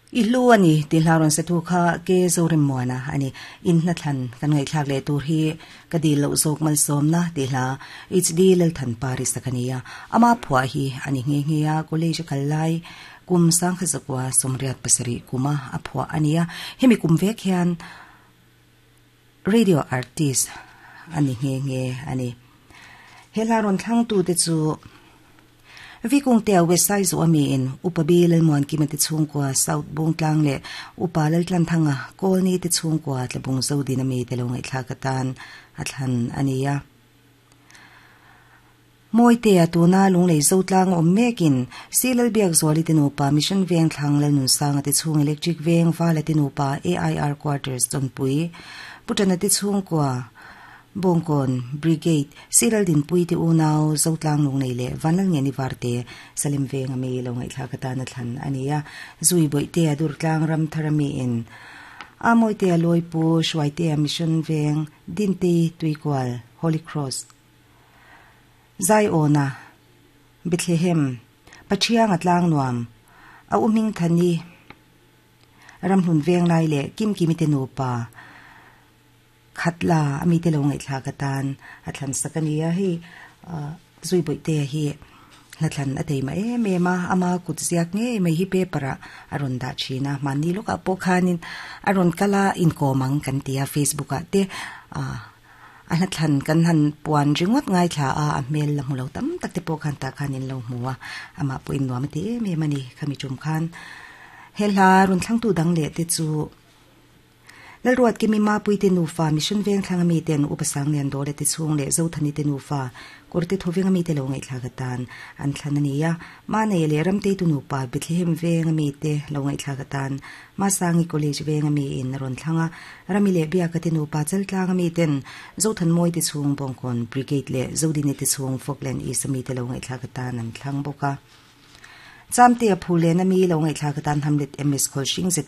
I hlu a ni tih hla rawn satu kha Ke Zoremmuana a ni. In hnathlan kan ngaihthlak leh tur hi ka dil loh zawk malsawmna tih hla HD Lalthan Pari sak a ni a. Ama phuah hi a ni nghe nghe a, college a kal lai kum sangkha zakua 87 kuma a phuah a ni a. Hemi kum vek hian radio artist a ni nghe nghe a ni. He hla rawn thlangtute chu. Vikungtea West Saizaw a miin Upa B Lalmuankima te chhungkua South Bungtlang leh Upa Laltlanthanga Kawlni te chhungkua Tlabung Zodin a mite lo ngaihthlak atan a thlan a ni a. Mawitea tuna Lunglei Zotlang awm mekin Si Lalbiakzuali te nupa Mission Veng Thlang Lalnunsanga te chhung Electric Veng Vala te nupa AIR Quarters Chawnpui Putana te chhungkua Bawngkawn Brigade, Siral Dinpui te unau Zotlang Lungnei leh Vanlalngeni Varte, Salem Veng a mi lo ngaihthlak atana thlan a ni a. Zui Bawihtea Durtlang Ramthar a miin Amawitea Lawipu, Hruaitea Mission Veng, Dintei Tuikual, Holy Cross, Zaiawna, Bethlehem, Pathianga Tlangnuam, a u Hmingthani, Ramhlun Venglai leh Kimkimi te nupa, Khatla a mite lo ngaihthlak atan a thlan sak a ni a, hei zui bawihte hi hnathlan a tei mah em em a, ama kut ziak ngei mai hi paper ah a rawn dah thin a, mahni lawkah pawh khanin a rawn kal a inkawm ang kan ti a facebook ah te ah a hnathlan kan han puan ringawt ngaithla a, a hmel la hmu lo tam tak te pawh khan tah khan in lo hmu a, amah pawhin nuam a ti em em a ni khami tum khan he hla rawn thlangtu dang leh te chu. Lalruat Kimi Mapui te nufa, Mission Vengthlang ami ten Upa Sanglian Dawla te chhung leh Zothani te nufa, Kawrte Thawveng ami te lo ngaihthlak atan an thlan a ni a. Manei leh Ramteitu nupa, Bethlehem Veng ami te lo ngaihthlak atan Masangi College Veng ami in a rawn thlang a. Rami leh Biaka te nupa, Chaltlang ami ten Zothanmawi te chhung, Bawngkawn Brigade leh Zodini te chhung, Falkland East ami te lo ngaihthlak atan an thlang bawk a. Chamtea Phulen ami lo ngaihthlak atan Hamlet MS Khawlhring ZM.